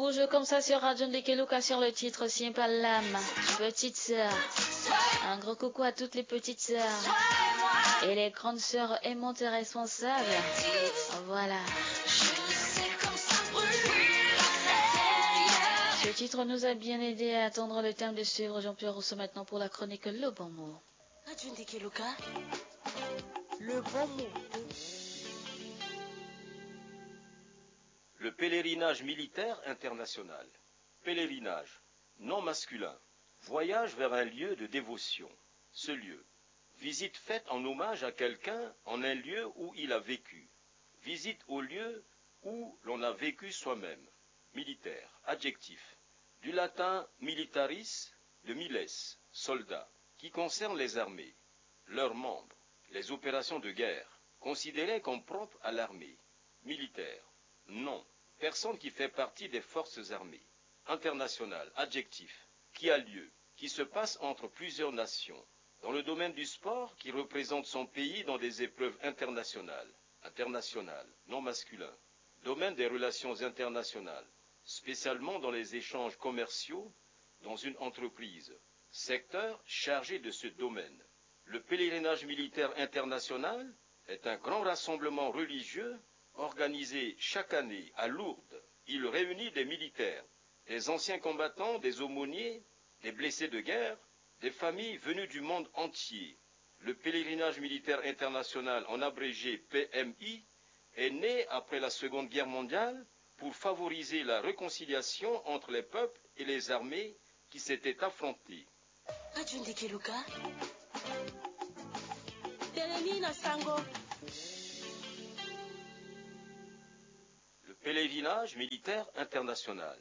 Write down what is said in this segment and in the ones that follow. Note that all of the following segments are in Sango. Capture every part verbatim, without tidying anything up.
Toujours comme ça sur Radio Ndekeluka sur le titre Sien Palam, Petite Sœur. Un gros coucou à toutes les petites sœurs et les grandes sœurs aimantes et responsables. Voilà. Ce titre nous a bien aidé à attendre le thème de suivre Jean-Pierre Rousseau maintenant pour la chronique Le Bon Mot. Radio Ndekeluka, Le Bon Mot. Le pèlerinage militaire international. Pèlerinage, nom masculin. Voyage vers un lieu de dévotion. Ce lieu. Visite faite en hommage à quelqu'un en un lieu où il a vécu. Visite au lieu où l'on a vécu soi-même. Militaire, adjectif. Du latin militaris, de miles, soldat, qui concerne les armées, leurs membres, les opérations de guerre, considérées comme propres à l'armée. Militaire, nom, personne qui fait partie des forces armées. International, adjectif, qui a lieu, qui se passe entre plusieurs nations, dans le domaine du sport, qui représente son pays dans des épreuves internationales. International, nom masculin, domaine des relations internationales, spécialement dans les échanges commerciaux, dans une entreprise, secteur chargé de ce domaine. Le pèlerinage militaire international est un grand rassemblement religieux organisé chaque année à Lourdes. Il réunit des militaires, des anciens combattants, des aumôniers, des blessés de guerre, des familles venues du monde entier. Le pèlerinage militaire international, en abrégé P M I, est né après la Seconde Guerre mondiale pour favoriser la réconciliation entre les peuples et les armées qui s'étaient affrontés. Radio Ndekeluka, telemi na sango. Le pèlerinage militaire international.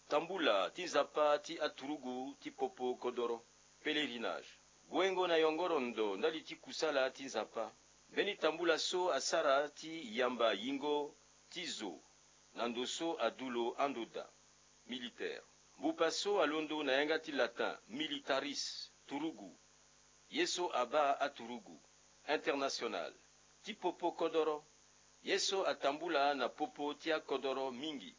Tambula ti Nzapa ti aturugu ti popo kodoro. Pèlerinage. Guengo na yongoro ndo ndali ti kusala ti Nzapa. Mbeni tambula so asara ti yamba yingo ti zo na ndo so adu lo ando daa. Militaire. Mbupa so alondo na yanga ti latin militaris, turugu. Ye so abaa aturugu. International. Ti popo kodoro. Ye so atambula na popo ti akodoro mingi.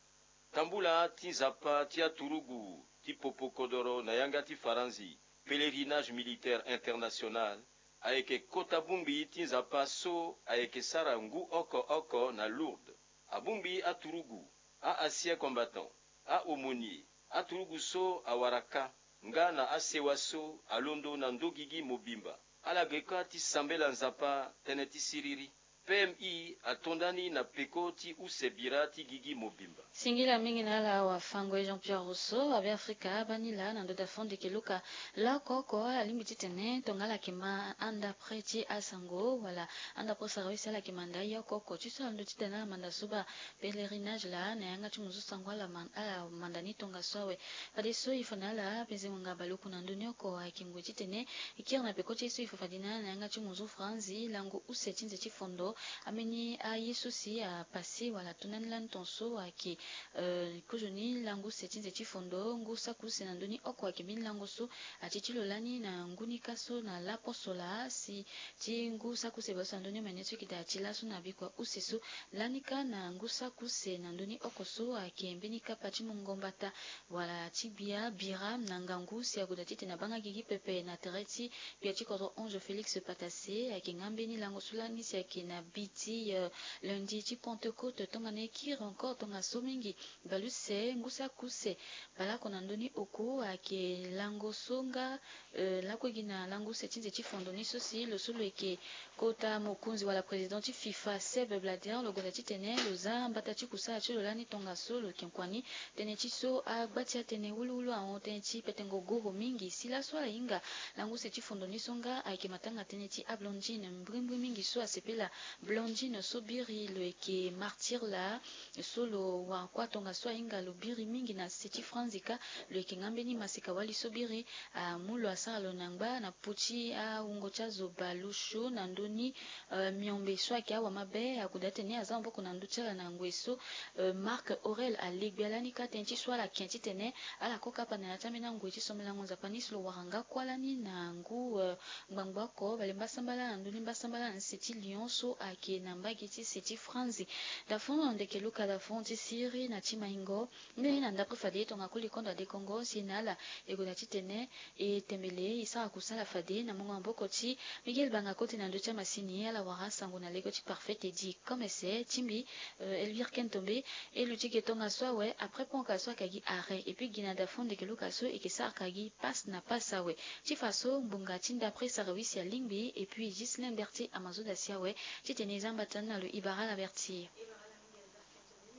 Tambula ti Nzapa ti aturugu ti popo kodoro na yanga ti Faranzi, pèlerinage militaire international, ayeke kota bongbi ti Nzapa so ayeke sara ngu oko oko na Lourdes. Abongbi aturugu, a-ancien combattant, a-aumônier, aturugu so awara kâ, nga na asewa so alondo na ndö gigi mobimba. Ala ge kâ ti sambela Nzapa tënë ti siriri. P M I ato ndani na peko ti use bira ti gigi mobimba. Singila mingi na ala wafango e Jean-Pierre Rousseau, abe Afrika, abani laa na ndo da fond de keluka. Laoko oko ala lingbi titene tongana ala yeke ma anda près ti asango, wala anda posa rawisi ala yeke manda ye oko oko. Ti so ala ndo titene ala manda so baa pèlerinage laa na yanga ti mo zo sango ala man-, ala manda ni tongaso awe. Fadeso e fa na ala penze ngonga baleoku na ndö ni oko ayeke ngoi titene e kiri na peko ti ye so e fa fade na ala na yanga ti mo zo franzi lango use ti nze ti fondo. Ambeni aye so si apase wala ato ndani lani tongaso ayeke, eh, kozoni lango use ti nze ti fondo. Ngu saki use na ndö ni oko ayeke mbeni lango so ati ti lo lani na ngu ni kâ so na laposo laa si ti ngu saki use bale so na ndö ni omene so e yeke daa ti laso na bikua use so lani kâ na ngu saki use na ndö ni oko so ayeke mbeni kapa ti mungo mbata wala ti gbia bira na ngangu si ague daa titene abanga gigi pepe na tere ti gbia ti kodro Ange Félix Patassé. Ayeke nga mbeni lango so lani si ayeke na bi ti, eh, lundi ti Pentecôte tongana e kiri encore tongaso mingi. Bale use ngu saki use baleoko na ndö ni oko ayeke lango so nga, eh, lakue gi na lango use ti nze ti fondo ni so si lo so lo yeke kota mokonzi wala président ti FIFA, Seb Blatter, lo gonda titene lo za mbata ti kusala ti lo lani tongaso lo yeke kua ni. Tënë ti so agba ti atënë wuluwulu ahon tënë ti petengo goro mingi. Si laso ala hinga lango use ti fondo ni so nga ayeke matanga tënë ti ablondine mbrimbri mingi so asepela. Blondine so biri lo yeke martyr laa so lo wara kuâ tongaso ahinga lo biri mingi na se ti franzi kâ. Lo yeke nga mbeni maseka-wali so biri amu lo asara lo na ngba na po ti awungo ti azo baleosio na ndö ni, eh, miombe so ayeke awa mabe. Ague daa titene aza maboko na ndö ti ala na ngoi so, eh, Marc Aurèle ale gbia lani kâ tënë ti so ala yeke titene ala kue kapa na ya ti ambeni angoi ti sombelango Nzapa ni si lo wara nga kuâ lani na ngu, eh, ngbangbo oko bale mbasambala na ndö ni mbasambala na nse ti Lyon so ayeke na mbage ti se ti Franzi. Dafon ndeke Luka Dafon ti siri na ti maingo. Mbeni na ndapre fade tongana koli kondo ade Kongo si na ala e gue na titene e tembele e sara kusala fade na mungo maboko ti Miguel Banga Kote na ndö ti amasini. Ala wara sango na lege ti Parfait Teddy Komese ti mbi, euh, Elvire Kentombe. E luti ge tongaso awe, après pont ka so ayeke gi arrêt, et puis gi na Dafon ndeke Luka so e yeke sara ka gi passe na passe awe. Ti fa so ngbonga ti ndapre sara wisi alingbi, et puis Ghislain Berthier Amazoda si awe. Titene e za mbatana na lo, e bara ala Berthier.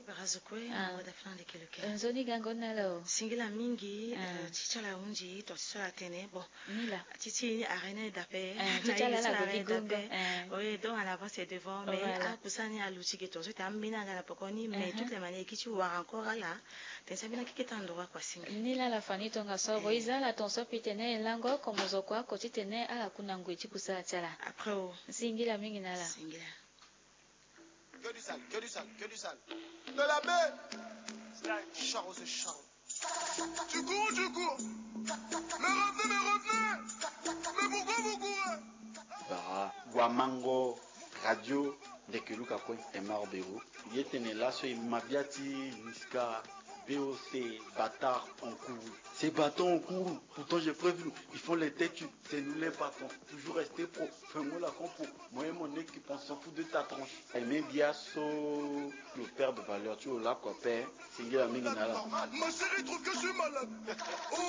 Bara zo kue. Ah. Na wada fana ndeke Luka. Eh, nzoni gango na lo. Singila mingi. Ah. Eh, ti ti ala ahunzi tonga ti so ala tene bon. Ni laa. Ti ti ni arrêt ni aye dape. Eh, ti ti ala ala gue gi gongo. Eh. Oui, donc en avance et devant, mais, voilà, akusani aluti ge tongaso ti ambeni anga na poko ni, mais, mhm, toutes les manières e ki ti wara encore ala. Tene si ambeni akeke ti androit kua singi. Ni laa ala fani tongaso. Eh. Bon, e za ala tongaso pitene e lango komo zo kua ko titene ala ku na ngoi ti kusala ti ala. Après o. Singila mingi na ala. Singila. Que du sale, que du sale, que du sale. De la baie. Charo, c'est charo. Tu cours, tu cours. Mais revenez, mais revenez. Mais pourquoi vous courez ? Bara Guamango, Radio Ndeke Luka kue, Emar Bero. Ye tene laso e ma bia ti Niska, B O C, bâtard, on court. Ces bâtards, on court. Pourtant, j'ai prévenu. Ils font les têtus. C'est nous les patrons. Toujours rester pro. Fermons la compo. Moi et mon équipe, on s'en fout de ta tronche. Aimé Biasso, le père de valeur, tu es là, copain. Singila mingi na ala. Ma chérie trouve que je suis malade.